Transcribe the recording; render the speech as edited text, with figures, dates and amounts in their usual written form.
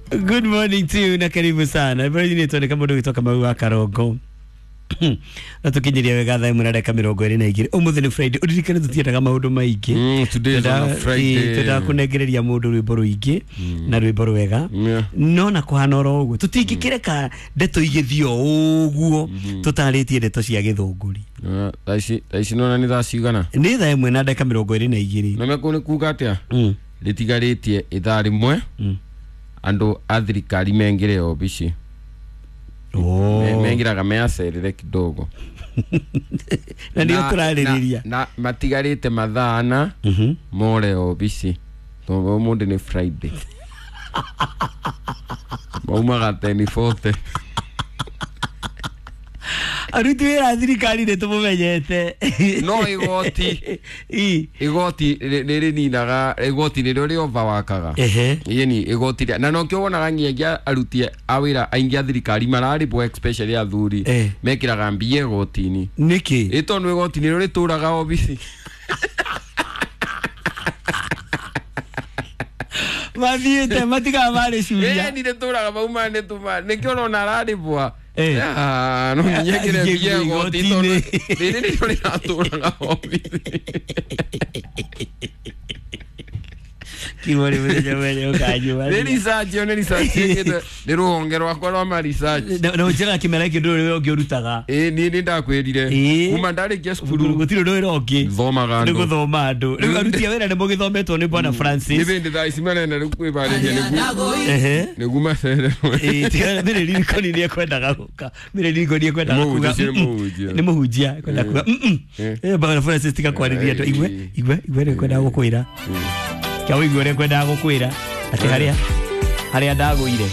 Good morning to you na karibu sana. Bwana ni tuone kama ndu gitoka mau wa Karongo. Na tukinyiria wega thaa 1:22. Umuthi ni Friday. Uririkane tutiendaga maundu maingi. Today is on a Friday. Twenda kunengereria mundu rwimbo ruingi na rwimbo rwega. No na kuhana oro uguo tutingikireka ndeto igithio uguo tutaritie ndeto cia githunguri. Thaa ici nona ni thaa cigana? Ni thaa 1:22. Na mekũ nĩ kuga atĩa? Rĩtigarĩtie ithaa rĩmwe andũ a thirikari mengĩre obici. Mengĩraga meacerere kidogo. Na ndio tũrarĩrĩria. Na matigarĩte mathaa ana more obici. Tondũ ũmũthĩ nĩ Friday. Maumaga 10:40. Aruti wĩra a thirikari nĩ tũmũmenyete. No igoti. Igoti nĩ rĩninaga, igoti nĩrĩo rĩ overworkaga. Yeni igoti rĩa na nokĩo wonaga nginyagia aruti a wĩra aingĩ a thirikari mararĩbwo especially athuri mekĩraga mbia igoti-inĩ. Nĩkĩ? Ĩ tondũ igoti nĩrĩo rĩtũraga obici. Mathiĩte matigaga marĩ curia. Ĩni rĩtũraga mauma nĩ tuma nĩkĩo ũrona ararĩbwa. No nginya ekĩre mbia igoti tondũ rĩrĩ nĩrĩo rĩratũraga obici. Kiugo nĩ mũthenya mwene ũkanyua. Nĩ research ĩyo nĩ research ĩkĩtwo nĩ rũhonge rwakwa rwa ma research. Na ũnjĩraga kĩmera gĩkĩ ndũrĩ wĩra ũngĩ ũrutaga. Ĩĩ niĩ nĩ ndakwĩrire. Kuma ndarĩkia cukuru gũtirĩ ũndũ wĩra ũngĩ. Thomaga andũ. Nĩ gũthoma andũ. Rĩu aruti a wĩra nĩ mũgĩthometwo nĩ Bwana Francis. Nĩ bĩndĩ thaa ici marenda rĩu kwĩbarĩria nĩguo. Nĩguo macererwo. Ĩĩ tiga Mary Lincoln nĩ ekwendaga gũka. Mary Lincoln nĩ ekwendaga kuga. Nĩ mũhunjia. Nĩ mũhunjia ekwenda kuga. Bwana Francis tiga kwarĩria andũ. Igwe igwe igwe nĩ ekwendaga gũkwĩra. Kia ũigue ũrĩa ngwendaga gũkwĩra atĩ harĩa ndagũire.